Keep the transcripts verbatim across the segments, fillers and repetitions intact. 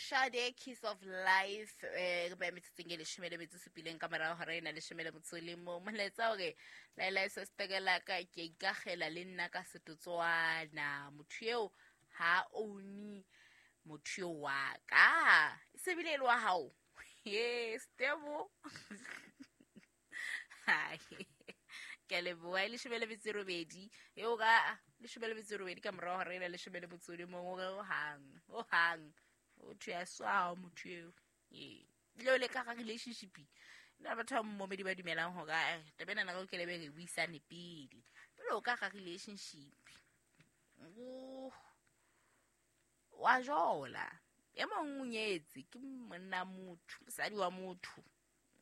Sade Kiss of Life eh re ba metsotsong e leshome le metso supileng ka morao hora ena leshome le motso le mong. Molaetsa hore laela sestekela ka ke ikagela le nna ka setotswana. Motho eo ha own motho eo wa ka. E se bile le wa hao. Yes, Tebo. Hai. Ke leboha e leshome le metso e robedi. Eo ka leshome le metso e robedi ka morao hora ena leshome le motso le mong o re ho hang. Ho hang. O thwe a swa motho eo. Ee. Le le ka ga relationship. Nna batho ba momedi ba dumelang hore a taba ena re ke lebe re buisane pele. Pele o ka ga relationship. O wa jola. E mong o nyetse ke monna motho, mosadi wa motho.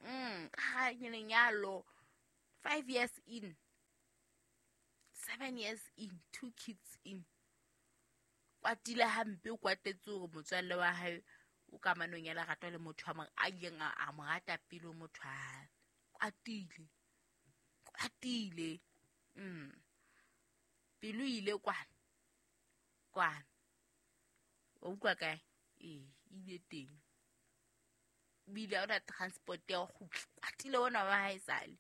Mm, ka ga lenyalo five years in. Seven years in, two kids in. Kwatile hampe o kwatetse hore motswalle wa hae o kamanong ya lerato le motho a a ileng a mo rata pele motho a kwatile. Kwatile. Mm. Pelo ile kwana. Kwana. O utlwa kae? Ee, ile teng. Bile ona transport ya ho kgutla. Kwatile ona wa hae sale.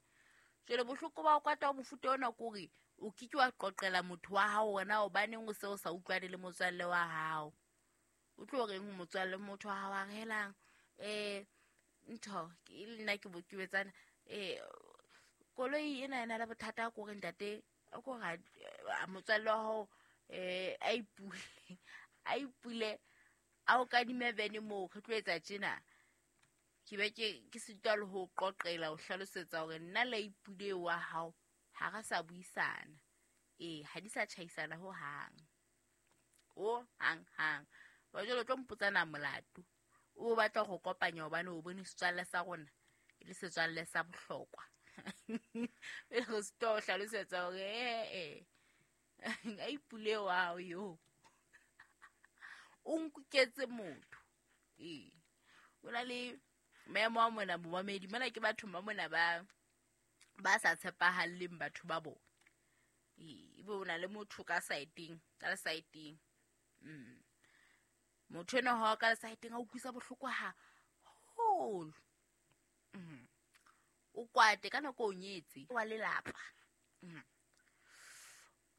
Jwale bohloko ba o kwata mofuta ona kore o ke ke wa qoqela motho wa hao wena hobaneng o se o sa utlwane le motswalle wa hao. O tlo reng ho motswalle motho wa hao a relang eh ntho ke nna ke bokebetsana eh koloi ena ena le bothata ko re ntate ko ra motswalle wa hao eh a ipule a ipule a o kadime vene moo re tlo etsa tjena. Ke be ke ke sitwa le ho qoqela o hlalosetsa hore nna le ipule wa hao ha re sa buisana. Ee, ha di sa tjhaisana ho hang. O hang hang. Wa jwale o tlo mpotsana molato. O batla go kopanya hobane o bone setswalle sa rona e le setswalle sa bohlokwa. Pele go sitwa ho hlalosetsa hore eh eh a ipule wa hao yo. O nkuketse motho. Ee. O na le maemo a mona momamedi mona ke batho ba mona ba ba sa tshepahalleng batho ba bona. Ee, ebe o na le motho ka saeteng, ka saeteng. Mm. Motho ena ha ka saeteng a utlwisa bohloko haholo. Mm. O kwate ka nako o nyetse wa lelapa. Mm.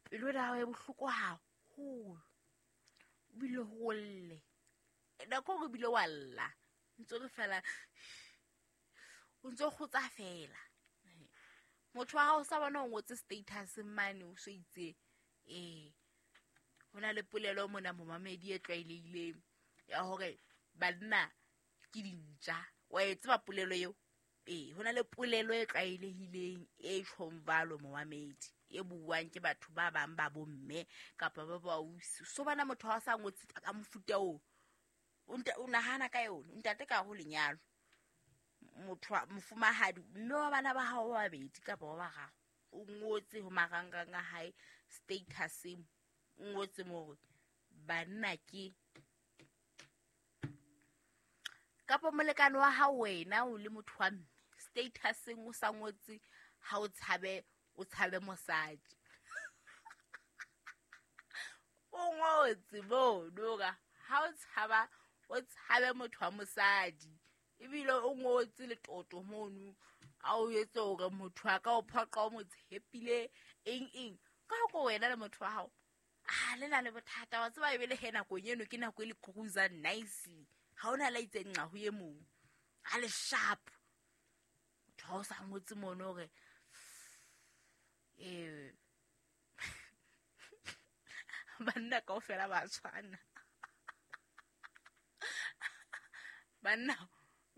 Pelo ya hao e bohloko haholo. O bile ho lle. Nako o bile wa lla. Ntse re fela o ntse kgotsa fela. Motho wa hao sa bona o ngotse status mane o so itse eh hona le polelo mona momamedi e tlwaelehileng ya hore banna ke dintja. Wa e tseba polelo eo? Ee, hona le polelo e tlwaelehileng e tjhong jwalo momamedi e buang ke batho ba bang ba bomme kapa ba bausi. So bana motho ha sa ngotse ka mofuta oo o nahana ka yona ntate ka ho lenyalo motho mofumahadi mme wa bana ba hao ba babedi kapa ba bararo o ngotse ho marangrang a hae status o ngotse mo banna ke kapa molekane wa hao wena o le motho wa mme status o sa ngotse ha o tshabe o tshabe mosadi o ngotse bo noka ha o tshaba o tshabe motho wa mosadi ebile o ngotse letoto mono a o etse hore motho a ka o phoqa o mo tshepile eng eng ka go wena le motho wa hao a le na le bothata wa tseba ebile he nako eno ke nako e le cruiser nicely ha ona la itse nqa ho ye mong a le sharp motho ha o sa ngotse mono hore eh banna kaofela ba tshwana banna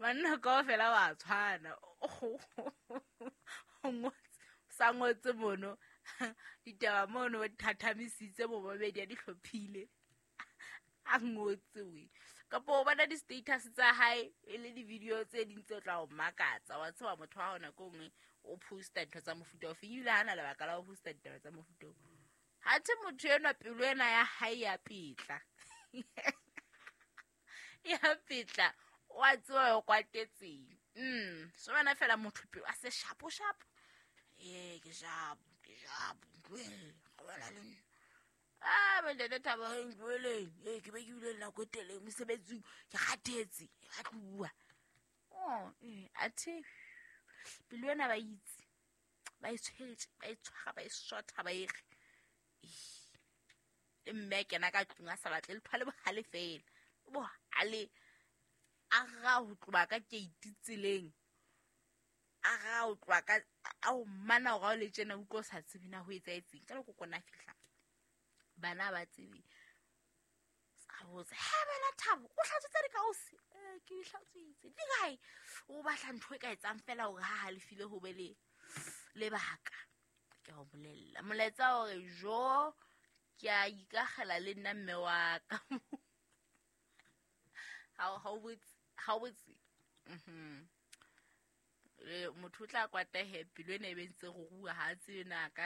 banna kaofela ba tshwana o ngotse sa ngotse mono ditaba mono thathamisitse bo babedi a di hlophile a ngotse we kapa o bona di-status tsa hae e le di-video tse ding tse tla o makatsa wa tseba motho wa hona ko nngwe o posta ntho tsa mofuta ofe ebile ha na lebaka la ho posta ditaba tsa mofuta oo. Ha the motho enwa pelo ena ya hae ya pitla ya pitla wa tseba o kwatetseng. Mm, so bana fela motho pelo a se shapo shapo. Ee, ke shapo, ke shapo. Ga bona le nna. A bontate Thabo, ntloeleng, ee, ke be ke bile le nako e telele mosebetsing, ke kgathetse, ba tloa. Oh, ee, athe pelo ena ba itse ba e tshwetse, ba e tshwara, ba e sotha, ba e re le mme a kena ka tlung a sa batle letho, le bohale fela, bohale a ra ho tloba ka keiti tseleng, a ra ho tloha ka a o mana hore ha o le tjena utlwa o sa tsebe na ho etsahetseng. Ka leko kona fihla bana ba tsebe sa botsa, he bana Thabo, o hlatswitse dikausi? Eh, ke di hlatswitse. Di kae? O batla ntho e ka etsang fela hore ha halefile ho be le lebaka. Ke a o bolella molaetsa hore jo ke a ikakgela le nna mme wa ka. Ha o botse, ha o botse. Mhm. Motho o tla kwata he pelo ena e be ntse go rua, ha a tsebe na ka